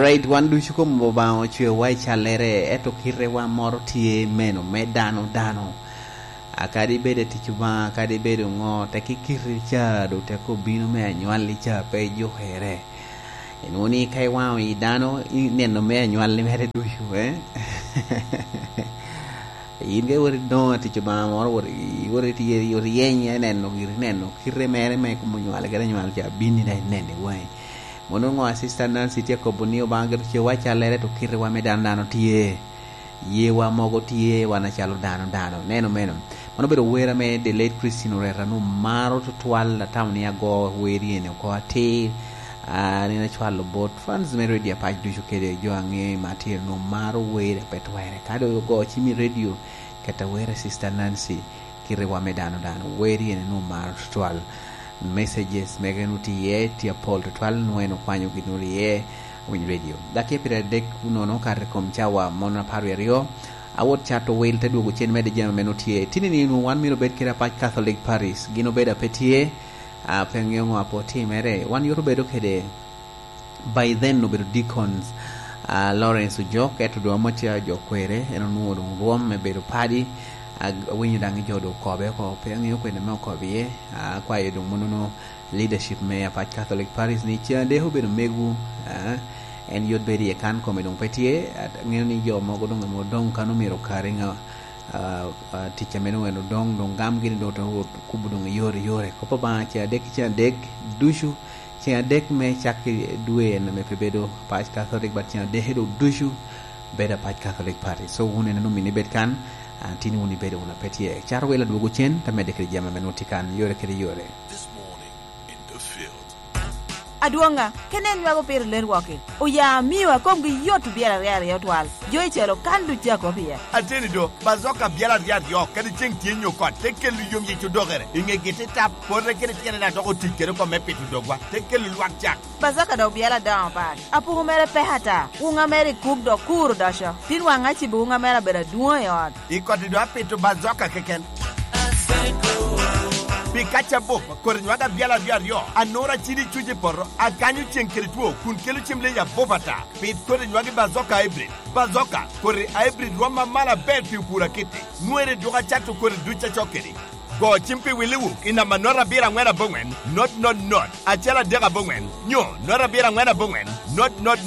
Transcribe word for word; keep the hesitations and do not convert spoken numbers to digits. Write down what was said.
Right, wan ducu kom Obaŋa ocwewa i callere, ento kitewa moro tye meno me dano dano. A kadi bed i tic Obaŋa, kadi bed ŋo, tek ikiti ca, doŋ tek obino me anywalli ca pe ijukere. Inwoŋo ni ka iwaŋo i dano, ineno me anywalli mere ducu, eh? In ka iwot idoŋo atic Obaŋa moro, wot i-, iwot i-, iryeny, ineno giri, ineno kite mere me kom onywale kede anywal ca, bini daŋ ineno i waŋi. Mono ŋo a Sister Nancy tye akobo ni Obaŋa gire cewa callere, to kitewa me dano dano tye. Yewa mogo tye wan acalo dano dano. Neno meno. Mano obedo wer ame the late Christine Oreta onwoŋo maro tutwal, atamo ni ago wer eni oko atir. Ah, nino acwalo bot fans me Radio Apac ducu kede jo aŋe ma tye onwoŋo maro wer pe twere. Ka doŋ ogo cim i radio, keta wer a Sister Nancy, kitewa me dano dano. Wer eni onwoŋo maro tutwal. Messages mege onwoŋo tye iye, tye apol tutwal, nwoŋo en okwanyo gin onwoŋo iye, Winy Radio. Dakika pyeradek nono okato i kom cawa mon apar wie aryo, awot cato wil te dwogo cen medde jami ame nwoŋo tye. Tini ni onwoŋo wan myero obed kede Apac Catholic Parish, gin obedo a pe tye, a, pe ŋeo ŋo a pe otimere. Wan yot obedo kede, by then obedo deacons, a, Lawrence Ojok, ento doŋ amacca jo kwere, en onwoŋo doŋ rwom me bedo padi. A, awinyo daŋ jo doŋ okobe oko, pe aŋeo kwene me okobo iye. A, akwayo doŋ monono leadership me Apac Catholic Parish ni ceŋ adek obedo megu, a, en yot bedo iye kan kome doŋ pe tye, a, aŋeo ni jo mogo doŋ ame odoŋ kan omyero okari ŋa, a, a, tic ame doŋ en odoŋ, doŋ gam gini doŋ ote wot kubo doŋ i yore, i yore. Kop Obaŋa ceŋ adek ki ceŋ adek ducu, ceŋ adek me cak i dwe en ame pe bedo Apac Catholic, but ceŋ adek doŋ ducu bedo Apac Catholic Parish. So, wun en omini bed kan, a, tin wun ibedo wun a pe tye. Cato wil adwogo cen, te medde kede jami ame nwoŋo tye kan, yore kede yore. This morning in the field. Adwoŋa, kene en nywako pire ler wok-ki. Oya amio a komgi yot obyelo aryo aryo twal. Jo i calo kan duc a kop iye. Ateni do, Bazoka abyelo aryo aryo, kadi ceŋ tye nyo kot, te kelo yom yic odokere. I ŋegi te tap, pote kede tyene na dok otic kede oko me pito dogwa, te kelo lwak cak. Bazoka dok obyelo adoŋo pat. Apuku mere pek ata. Wuŋa mere i kuk dok kur odoco. Tin waŋ acibo wuŋa mere abedo adwoŋ i ot. I koti do apito Bazoka keken. Pi kac abup, kodi nywag abyalo aryo aryo, anura cidi cuc i poto, akanyo ceŋ kede two, kun kelo cem leyi abup ata. Pit kodi nywagi Bazoka Hybrid. Bazoka, kodi Hybrid rwom amalo aber pi opur akiti. Nwere dwogo acato kodi duc acok kedi. Go cim pi Willy Wook i namba note abiro aŋwen aboŋwen, not not not, acel adek aboŋwen, nyo note abiro aŋwen aboŋwen, not not